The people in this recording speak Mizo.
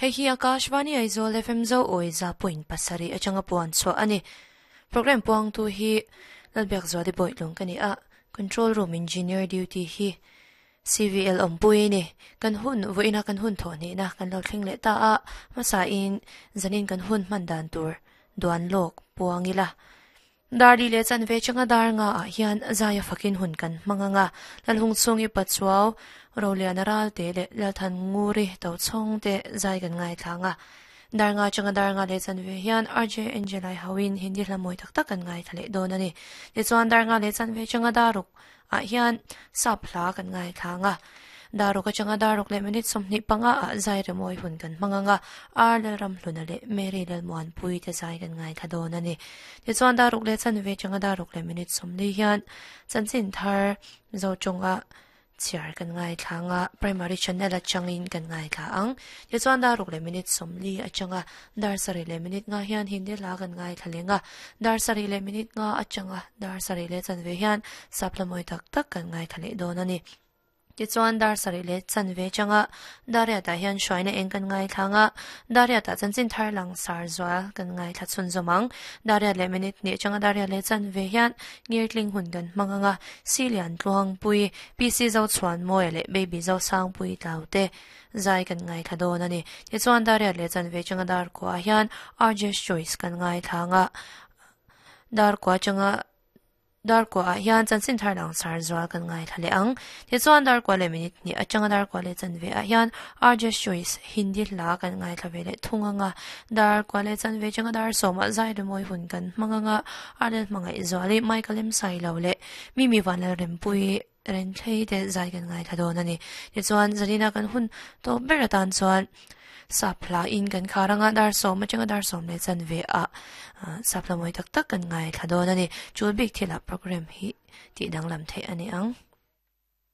Hei hi Akashvani Aizawl FM Zo Awi 100.7 atanga puan chhuah a ni. Program puangtu hi Lalbiakzuali Bawitlung ka ni a, Control Room Engineer Duty hi CVL awmpui a ni. Kan hun vawiina kan hun thawh hnihna kan lo thleng leh ta a, hmasain zanin kan hun hman dan tur duan lawk puang ila. Dar li leh chanve changa dar nga ah hian zaia fakin hun kan hmang ang a, Lalhung chhung i Pachuau, Roliana Ralte leh Lalthan Nguri Tochhawng te zai kan ngaithla ang a. Dar nga changa dar nga leh chanve hian RJ Angelai hoin Hindi hla mawi tak tak kan ngaithla leh dawn a ni. Tichuan dar nga leh chanve changa daruk ah hian sap hla kan ngaithla ang a. Daruk atanga daruk leh minute 25 ah zai remawi hun kan hmang ang a, R Lalramhluna leh Mary Lalmuanpui te zai kan ngaithla dawn a ni. Tichuan daruk leh chanve atanga daruk leh minute 40 hian chanchin thar Mizo tawnga chhiar kan ngaithla ang a, Primary Channel atangin kan ngaithla ang. Tichuan daruk leh minute 40 atanga dar sarih leh minute nga hian Hindi hla kan ngaithla leng a, dar sarih leh minute nga atanga dar sarih leh chanve hian sap hla mawi tak tak kan ngaithla leh dawn a ni. Tichuan dar sarih leh chanve changa Dariatah hian hruaina eng kan ngaithla ang a, Dariatah chanchin thar lang sar zual kan ngaithla chhunzawm ang. Dariat leh minute hnih changa Dariat leh chanve hian ngirtling hun kan hmang ang a, Silian Tluangpui, PC Zochhuanmawia leh Baby Zosangpui Tlaute zai kan ngaithla dawn a ni. Tichuan Dariat leh chanve changa dar kuah hian RJ's Choice kan ngaithla ang a, dar kuah changa Dar kuah ah hian chanchin thar lang sar zual kan ngaithla leh ang. Tichuan dar kuah leh minute hnih atanga dar kuah leh chanve ah hian RJ Choice Hindi hla kan ngaithla ve leh thung ang a. Dar kuah leh chanve atanga dar sawmah zai rimawi hun kan hmang ang a. Arlel hmangaih zuali Michael M Sailo leh Mimi Vanlalrempuii Renthlei te zai kan ngaithla dawn a ni. Tichuan zanina kan hun tawp ber atan chuan sap hla in kan khar anga dar sawm atanga dar sawm leh chanve ah sap hla mawi tak tak kan ngaithla dawn a ni. Chul bik thilah program hi tih danglam theih a ni ang.